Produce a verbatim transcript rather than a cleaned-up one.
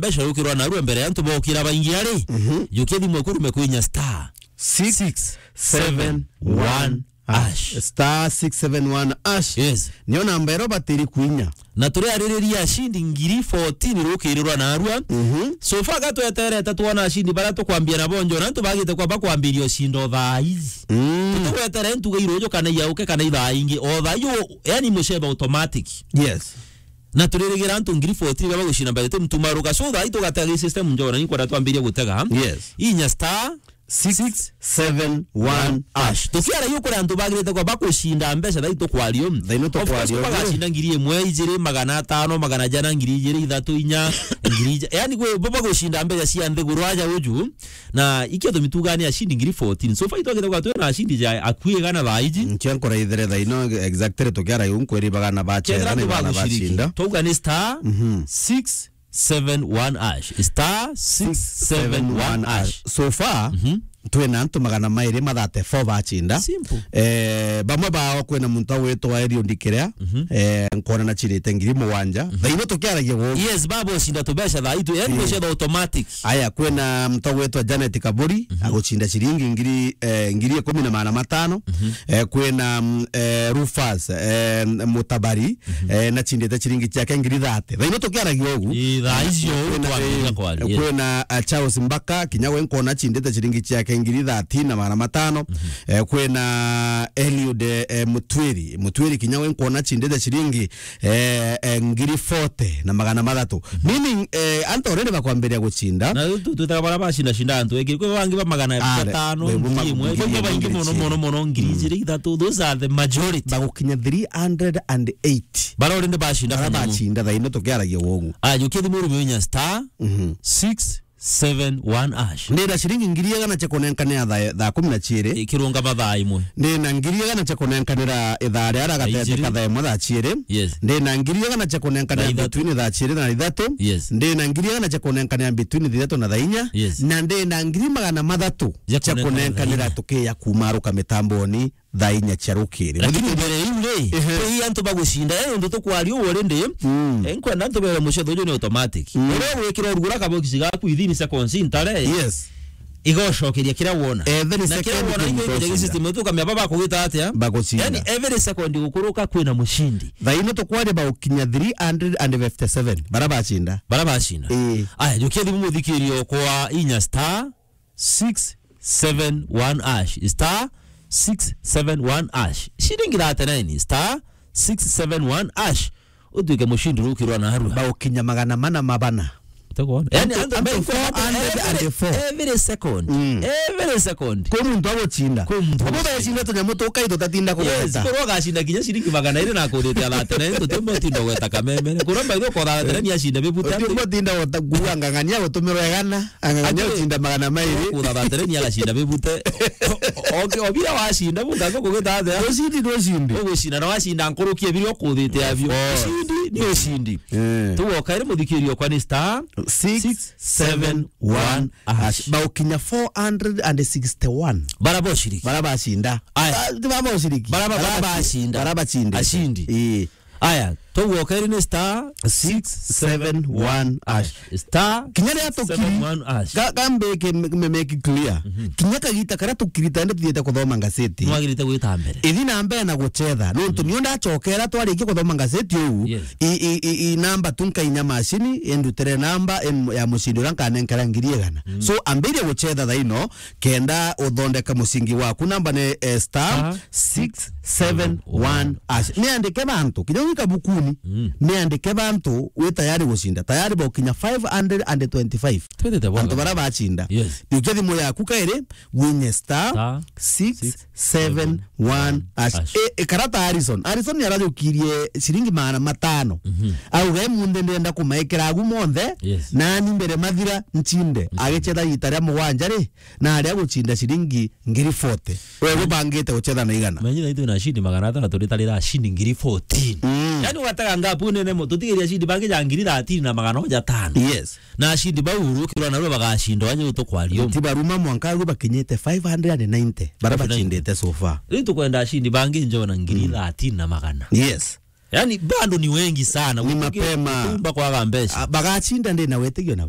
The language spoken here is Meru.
mbeca yukirwa narua mbere ya antu bokira baingi ari. Mhm. Jukia thimu eku urume kwinya star six seven one hash. Star six seven one hash. Yes. Niyo namba ero batiri kwinya. Na turiaririria ashindi ngiri fourteen rukirirwa narua. Mhm. So far gatweterete twona ashindi baria tukwambia nabo njo, na antu bagite kwamba kwambiria ushinda o thaa ici. Mm. Tugwetere ntuga iruju kana iauke kana ithaa ingi. O thaa iyo, yani mucebe automatic. Yes. Na turirigira antu ngiri fourteen baba gucinda mbere tumtumaruka. So thaa ii tugatega gi system njona, inkwenda twambirie gutega. Yes. Inya star six seven one hash. Tukiara yu kuri antu bagirite kwa bakucinda mbeca thaa ii tukwario. Thaa ino tukwario. Of course, bagacinda ngiri imwe, ijiri, magana atano, magana jana, ngiri ijiri, ithatu, inya, ngiri ija. Yani, gwe, bo bagucinda mbeca cia nthiguru aja uju. Na ikio tumitugania ashindi ngiri fourteen. So far itwagite kwa twina ashindi ja akui igana thaa iji. Nkio nkora ithere thaa ino exactly tukiara yu nkwiri bagana bachera. Kethira ni antu bagana baguciriki. Bacinda. Twauga ni star Mhm. six seven one hash. Star six seven one hash. So far, Mhm. twina antu magana mairi ma thirty-four bachinda. Simple. Eh, bamwe bao kwina muntu agwitwa Eliud Ndikerea, Mhm. eh, nkona na chirite ngiri mugwanja. Mhm. Thaa ino tukiaragia guku. Yes, babo shinda tubeca thaa itu. Yani Eh. Tucetha automatic. Aya, kwina muntu agwitwa Janet Kaburi, Mhm. aguchinda ciringi ngiri, eh, ngiri ikumi na magana matano. Mhm. Eh, kwina, mm, eh, Rufus, eh, Mutabari, Mhm. eh, nachindite ciringi ciake ngiri thirty. Thaa ino tukiaragia ugu. Ii, thaa icio kwina, twambiriria eh, kwaria, yes. Kwina, eh, Charles Mbaka, kinya we nkona achindite ciringi ciake ngiri thirteen na magana matano. Mhm. Eh, kwina Eliud, eh, Mutwiri. Mutwiri kinya we nkona achindite ciringi, eh, eh, ngiri forty na magana mathatu. Mhm. Meaning, eh, antu already bakwambiria guchinda. Na tu-, tu-, twitaga bara bacinda cinda antu engi. Kwi bangi ba magana atano, ngiri imwe. Kwi baingi mono, mono, mono, ngiri ijiri, ithatu. Those are the majority. Bagukinya three hundred and eight. Bara already bacinda. Bara bacinda, thaa ino tukiaragia wogu. Aya, jukia thimu urume inya star Mhm. six seven one hash. Ndina ciringi ngiri igana cia kunenkanira thaa, thaa kumi na ciiri. Ikirunga mathaa imwe. Ndina ngiri igana cia kunenkanira ithaa ria gatete ka thaa imwe thaa ciiri. Yes. Ndina ngiri igana cia kunenkanira between thaa ciiri na ithatu. Yes. Ndina ngiri igana cia kunenkanira between thaa ithatu na thaa inya. Yes. Na ndina ngiri magana mathatu cia kunenkanira tukiya kumaruka mitamboni thaa inya cia rukiri. Lakini mbere iu ri, ehe, kwi antu bagucinda, eh, undu tukwaria uu already, mm, eh, nkwenda antu bere mucetho uju ni automatic. Mm. Uria ugwikira urugura kabokisi gaku within seconds ntare. Yes. Igocokeria kiria wona. Every second. Na kiria wona igo igoja system yetu kamya baba kugita atia? Bagucinda. Yani every second gukuruka kwina mucindi. Thaa ino tukwaria bagukinya three hundred and fifty-seven. Bara bacinda. Bara bacinda. Eh. Aya, jukia thimu muthikirio kwa inya star six seven one hash, star six seven one hash. Shilingi thirty-nine, star six seven one hash. Utuike mushindi rukirwa narua. Baukinya magana mana ma bana. Utegwona? Yani, antu, antu, antu four hundred and four. Every, every second. Mm. Every second. Kwi muntu agucinda. Kwi muntu agucinda. Abo becinda tunyamu tukai tutatinda kugweta. Yes, korwo agacinda kinya shilingi magana iri na akuthite thirty-nine, tutimbo tinda gweta kameme. Kuromba ithio kwa thirty-nine ni acinda bibute. Utimbo tinda gweta kuuga ng'ang'ania gutumirwa igana. Ang'ang'ania gucinda magana mairi. Kuthatha tereni agacinda bibute. O-, o-, obira wacinda, bunga ngo kugita atia? Ucindi ni ucindi. Ugucinda na wacinda nkuruki ebiri ukuthite abio. Of course. Ucindi ni ucindi. Eh. Tugoka iri muthikirio kwa ni star six seven one hash. Baukinya four hundred and sixty-one. Bara boshiriki. Bara bacinda. Aya. Ah, ti bara boshiriki. Bara ba-, bara bacinda. Bara bacinda. Ashindi. Ii. Aya, tugwoka iri ni star six seven one hash. Star kinya ria tukiri, seven one hash. Ka-, kambe ke me-, me-, make clear. Mhm. Kinya kagita karia tukirita ndi tuthiite kuthoma ngaseti. Nwagirite gwita mbere. Ithi na mbere na gucetha. Nontu, mhm, niyo ndacokera twarikia kuthoma ngaseti uu, yes, i, i, i, i namba tu nkainya macini, indutire namba, em, ya mucindi uria nkanenkera ngiri igana. Mm. So, ambirie gucetha thaa ino, kenda uthondeka mucingi waku. Namba ni, eh, star star six seven one hash. Niandike bantu, kinya wika bukuni, mm, niandike bantu wi tayari gucinda. Tayari bokinya five hundred and twenty-five. Twendete bwana. Antu bara bacinda. Yes. Ikia thimu yaku kairi, winye star six seven one hash. Hash. E, e, karata Harrison. Harrison niarajukirie ciringi magana matano. Mhm. Auga, "Emunthe ndenda kumaikira agu monthe, yes, nani mbere mathira ncinde." Mhm. Agicetha ita ria mugwanja ri, na aria gucinda ciringi ngiri forty. We gubangite gucetha na igana. Manyina itu na ashindi magana atano, turitarira ashindi ngiri fourteen. Mm. Yani, ugatega ngapu nene mo, tutigiria ashindi bangi ja ngiri thirteen na magana oja tano. Yes. Na ashindi bau urukirwa narua bagacinda, wanye utukwario. Ti baruma mwanka agu bakinyite five hundred and ninety. Bara bacindite so far. Riu tukwenda ashindi bangi njona ngiri thirteen na magana. Yes. Yani bado ni wengi sana. Ni mapema. Tumba kwaga mbeca. Ah, bagacinda ndi na wetĩkio nabo.